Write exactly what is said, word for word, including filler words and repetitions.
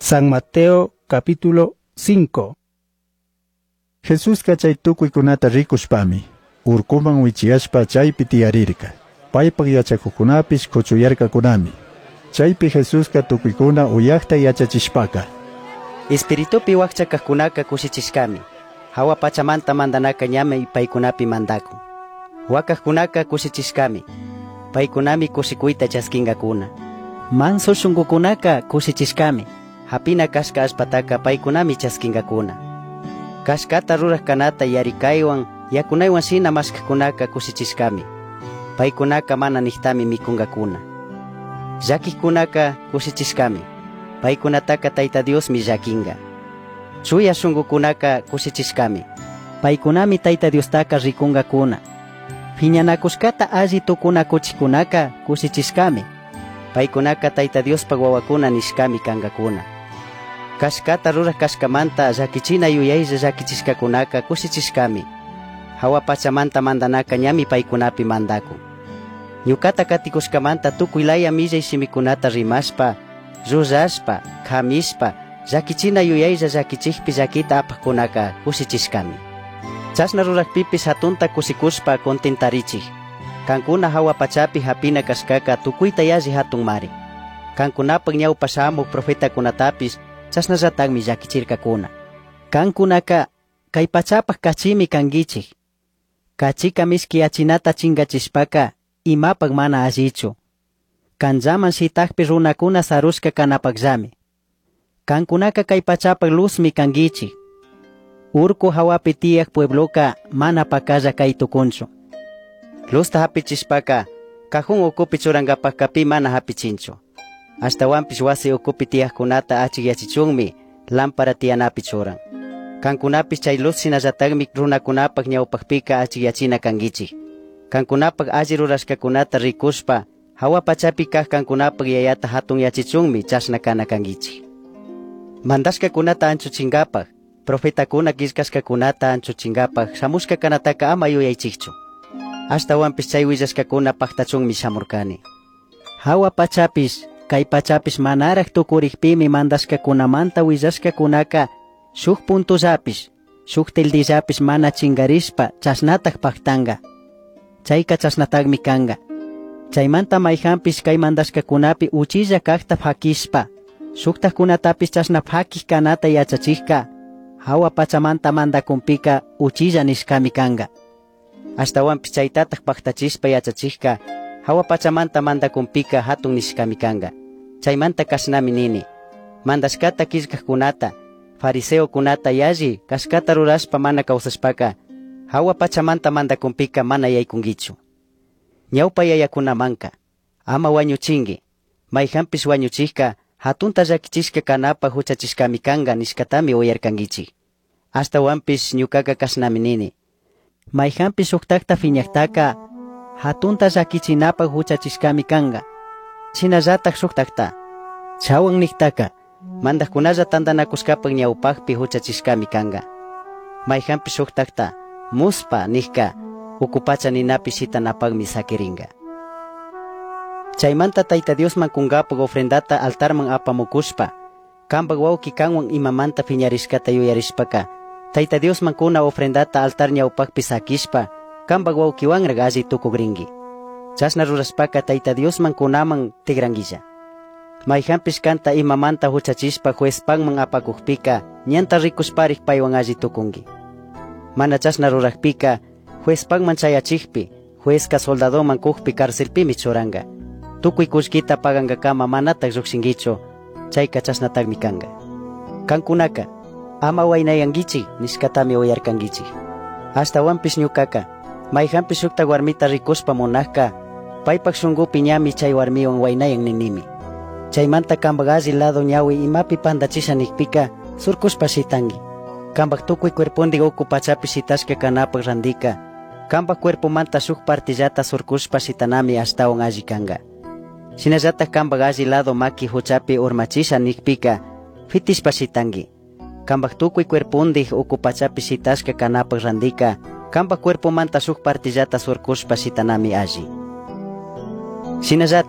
San Mateo capítulo cinco. Jesusca chay tucuicunata ricushpami, urcuman wichiyashpa chaypi tiyarirca. Paypaj yachakuqkunapish kuchuyarkakunami. Chaypi Jesusca tucuicuna uyajta yachachishpaca: Espiritupi wakcha kajkunaka kushichishkami. Hawa pachamanta mandanaka ñami paykunapi mandakun. Wakajkunaka kushichishkami. Paykunami kushikuyta chaskinkakuna. Manso shunkukunaka kushichishkami. Hapina kashka allpataka paykunami chaskinkakuna. Kashkata ruraj kanata yarikaywan yakunaywan shina mashkajkunaka kushichishkami. Paykunaka mana niktami mikunkakuna. Llakijkunaka kushichishkami. Paykunataka Tayta Diosmi llakinka. Chuya shunkukunaka kushichishkami. Paykunami Tayta Diostaka rikunkakuna. Phiñanakushkata alli tukunakuchijkunaka kushichishkami. Paykunaka Tayta Diospaj wawakuna nishkami kankakuna. Kashkata ruraj kashkamanta llakichina yuyaylla llakichishkakunaka kushichishkami. Hawa pachamanta mandanaka ñami paykunapi mandakun. Ñukata katikushkamanta tukuy laya millay shimikunata rimashpa, llullashpa, kamishpa, llakichina yuyaylla llakichikpi llakita apajkunaka kushichishkami. Chashna rurajpipish hatunta kushikushpa contentarichik. Kankuna hawa pachapi hapina kashkaka tukuyta yalli hatunmari. Kankunapaj ñawpa shamuj profetakunatapish chashnallatakmi llakichirkakuna. Kankunaka kay pachapaj kachimi kankichik. Kachika mishkiyachinata chinkachishpaka imapaj mana allichu. Kanllaman shitakpi runakuna sarushka kanapakllami. Kankunaka kay pachapaj luzmi kankichik. Urku hawapi tiyaj puebloka mana pakalla kay tukunchu. Luzta hapichishpaka cajón ukupi churankapajka pi mana hapichinchu. Ashtawanpish wasi ukupi tiyajkunata achikyachichunmi lámpara tiyanapi churan. Kankunapish chay luz shinallatakmi runakunapaj ñawpajpika achikyachina kankichik. Kankunapaj alli rurashkakunata rikushpa hawa pachapi kaj kankunapaj yayata hatunyachichunmi chashna kana kankichik. Mandashkakunata anchuchinkapaj, profetakuna killkashkakunata anchuchinkapaj shamushka kanataka ama yuyaychikchu. Ashtawanpish chay willashkakuna paktachunmi shamurkani. Hawa pachapish, kay pachapish manaraj tukurikpimi mandashkakunamanta willashkakunaka shuk puntullapish, shuk tildillapish mana chinkarishpa chashnataj paktanka. Chayka chashnatakmi kanka. Chaymanta mayjanpish kay mandashkakunapi uchilla kajta pakishpa, shuktajkunatapish chashna pakij kanata yachachijka, hawa pachamanta mandakunpika uchilla nishkami kanka. Ashtawanpish chaytataj paktachishpa yachachijka, hawa pachamanta mandakunpika hatun nishkami kanka. Chaymanta kashnami nini. Mandashkata killkajkunata, fariseokunata yalli kashkata rurashpa mana kawsashpaka, hawa pachamanta mandakunpika mana yaykunkichu. Ñawpa yayakunamanka, ama wañuchinki, mayjanpish wañuchijka, hatunta llakichishka kanapaj huchachishkami kanka nishkatami uyarkankichik. Ashtawanpish ñukaka kashnami nini. Mayjanpish shuktakta phiñajtaka, hatunta llakichinapaj huchachishkami kanka. Shinallataj shuktakta, chawan niktaka, mandajkunalla tantanakushkapaj ñawpajpi huchachishkami kanka. Mayjanpish shuktakta, muspa nijka, uku pacha ninapi shitanapajmi sakirinka. Chaymanta Tayta Diosman kunkapaj ofrendata altarman apamukushpa, kanpaj wawki kanwan imamanta phiñarishkata yuyarishpaka, Tayta Diosman kuna ofrendata altar ñawpajpi sakishpa, kanpaj wawkiwanraj alli tukukrinki. Chashna rurashpaka Tayta Diosman kunaman tikrankilla. Mayjanpish kanta imamanta huchachishpa juezpakman apakukpika, ñanta rikushparik paywan alli tukunki. Mana chashna rurajpika, juezpakman chayachikpi, juezka soldadoman kukpi carcelpimi churanka. Tukuy kullkita pagankakama manataj llukshinkichu, chayka chashnatakmi kanka. Kankunaka, ama waynayankichik nishkatami uyarkankichik. Ashtawanpish ñukaka, mayjanpish shukta warmita rikushpa munajka, paypaj shunkupi ñami chay warmiwan waynayan ninimi. Chaymanta kanpaj alli lado ñawi imapi pandachisha nikpika, surkushpa shitanki. Kanpaj tukuy cuerpondik uku pachapi shitashka kanapaj randika, kanpaj cuerpomanta shuk partillata surkushpa shitanami ashtawan alli kanka. Shinallataj kanpaj alli lado maki huchapi urmachisha nikpika, fitishpa shitanki. Kanpaj tukuy cuerpondik uku pachapi shitashka kanapaj randika, kanpaj cuerpomanta shuk partillata surkushpa shitanami alli. Shinallataj,